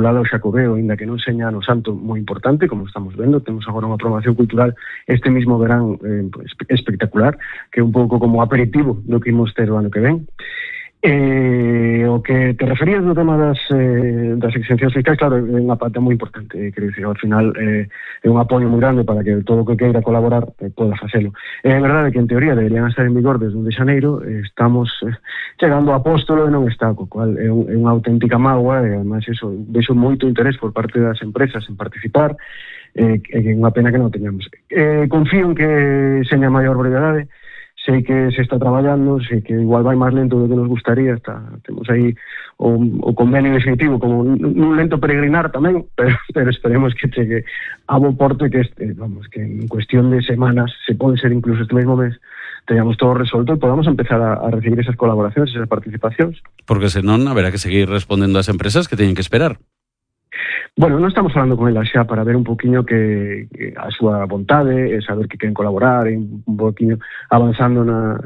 lado o Xacobeo, ainda que non seña no Santo moi importante, como estamos vendo, temos agora unha programación cultural este mismo verán espectacular, que é un pouco como aperitivo do que imos ter o ano que ven. O que te referías no tema das exencións fiscais, claro, é unha parte moi importante, quero dicir, ao final é un apoio moi grande para que todo o que queira colaborar poda facelo. É verdade que en teoría deberían estar en vigor desde 1 de xaneiro, estamos chegando a apóstolo e non está, co cual é unha auténtica mágoa, e además eso, vexo moito interés por parte das empresas en participar, é unha pena que non teñamos. Confío en que seña maior brevedade. Sei que se está traballando, sei que igual vai máis lento do que nos gustaría, temos aí o convenio definitivo como un lento peregrinar tamén, pero esperemos que chegue a bo porto e que en cuestión de semanas, se pode ser incluso este mesmo mes, teñamos todo resolto e podamos empezar a recibir esas colaboracións, esas participacións. Porque senón haberá que seguir respondendo ás empresas que teñen que esperar. Bueno, non estamos falando con elas xa para ver un poquinho que a súa vontade, saber que queren colaborar, un poquinho avanzando na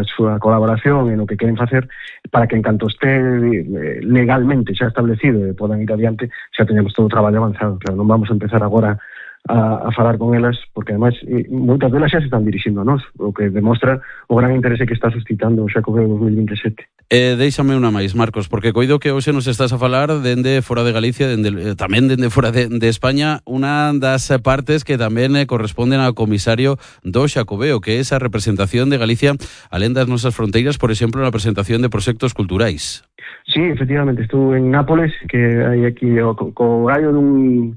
súa colaboración e no que queren facer, para que en canto este legalmente xa establecido e podan ir adiante, xa teñamos todo o traballo avanzado. Claro, non vamos a empezar agora a falar con elas, porque ademais moitas delas xa se están dirixindo a nós, o que demostra o gran interese que está suscitando o Xacobeo 2027. Déixame unha máis, Marcos, porque coido que hoxe nos estás a falar dende fora de Galicia, tamén dende fora de España, unha das partes que tamén corresponden ao comisario do Xacobeo, que é esa representación de Galicia alén das nosas fronteiras, por exemplo, na presentación de proxectos culturais. Sí, efectivamente, estuve en Nápoles, que hai aquí co gallo dun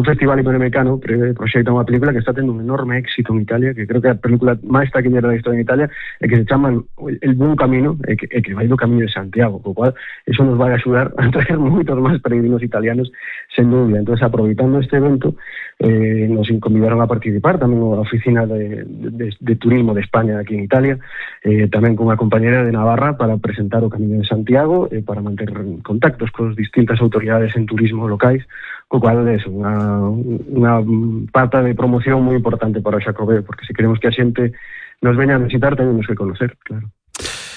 festival iberoamericano, proxecta unha película que está tendo un enorme éxito en Italia, que creo que é a película máis taquillera da historia en Italia, e que se chama El Buen Camino, e que vai do Camiño de Santiago, co cual eso nos vai axudar a traer moitos máis peregrinos italianos, sen dúbida. Entón, aproveitando este evento, nos convidaron a participar tamén a oficina de turismo de España aquí en Italia, tamén con unha compañera de Navarra para presentar o Camiño de Santiago, para manter contactos con distintas autoridades en turismo locais, co cual é unha pata de promoción moi importante para o Xacobeo, porque se queremos que a xente nos veña a visitar, tenemos que conocer, claro.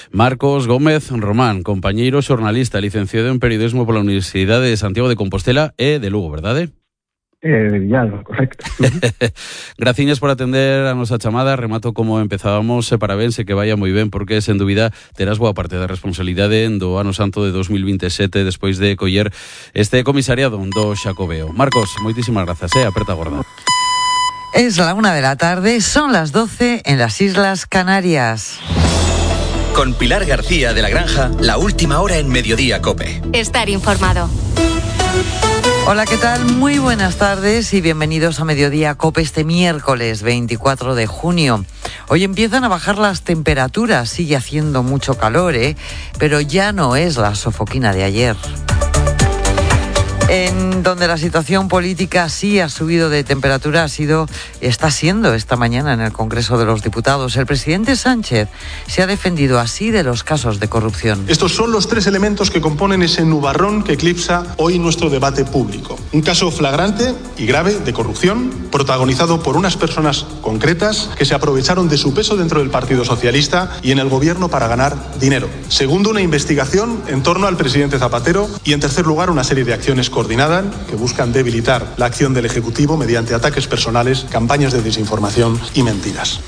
Marcos Gómez Román, compañeiro xornalista, licenciado en Periodismo pola Universidade de Santiago de Compostela e de Lugo, verdade? Correcto. Graciñas por atender a nosa chamada. Remato como empezábamos, parabéns e que vaya moi ben, porque sen dúbida terás boa parte da responsabilidade do ano santo de 2027 despois de coller este comisariado do Xacobeo. Marcos, moitísimas grazas, aperta gorda. Es la 1 de la tarde, son las 12 en las Islas Canarias. Con Pilar García de la Granja, la última hora en Mediodía COPE. Estar informado. Hola, ¿qué tal? Muy buenas tardes y bienvenidos a Mediodía COPE este miércoles 24 de junio. Hoy empiezan a bajar las temperaturas, sigue haciendo mucho calor, pero ya no es la sofoquina de ayer. En donde la situación política sí ha subido de temperatura está siendo esta mañana en el Congreso de los Diputados. El presidente Sánchez se ha defendido así de los casos de corrupción. Estos son los 3 elementos que componen ese nubarrón que eclipsa hoy nuestro debate público. Un caso flagrante y grave de corrupción, protagonizado por unas personas concretas que se aprovecharon de su peso dentro del Partido Socialista y en el gobierno para ganar dinero. Segundo, una investigación en torno al presidente Zapatero. Y en tercer lugar, una serie de acciones coordinadas que buscan debilitar la acción del Ejecutivo mediante ataques personales, campañas de desinformación y mentiras.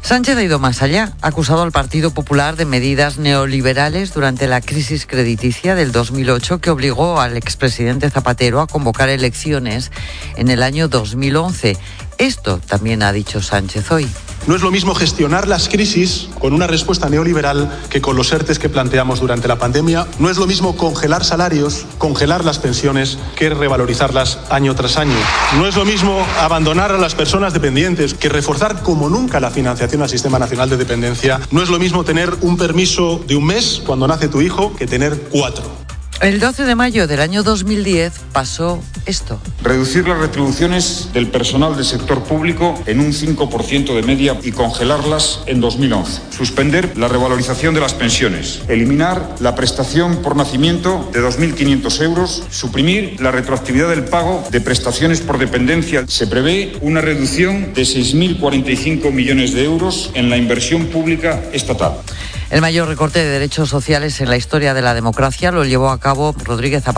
Sánchez ha ido más allá. Ha acusado al Partido Popular de medidas neoliberales durante la crisis crediticia del 2008 que obligó al expresidente Zapatero a convocar elecciones en el año 2011. Esto también ha dicho Sánchez hoy. No es lo mismo gestionar las crisis con una respuesta neoliberal que con los ERTEs que planteamos durante la pandemia. No es lo mismo congelar salarios, congelar las pensiones, que revalorizarlas año tras año. No es lo mismo abandonar a las personas dependientes que reforzar como nunca la financiación al Sistema Nacional de Dependencia. No es lo mismo tener un permiso de un mes cuando nace tu hijo que tener 4. El 12 de mayo del año 2010 pasó esto. Reducir las retribuciones del personal del sector público en un 5% de media y congelarlas en 2011. Suspender la revalorización de las pensiones. Eliminar la prestación por nacimiento de 2.500 euros. Suprimir la retroactividad del pago de prestaciones por dependencia. Se prevé una reducción de 6.045 millones de euros en la inversión pública estatal. El mayor recorte de derechos sociales en la historia de la democracia lo llevó a cabo Rodríguez Zapatero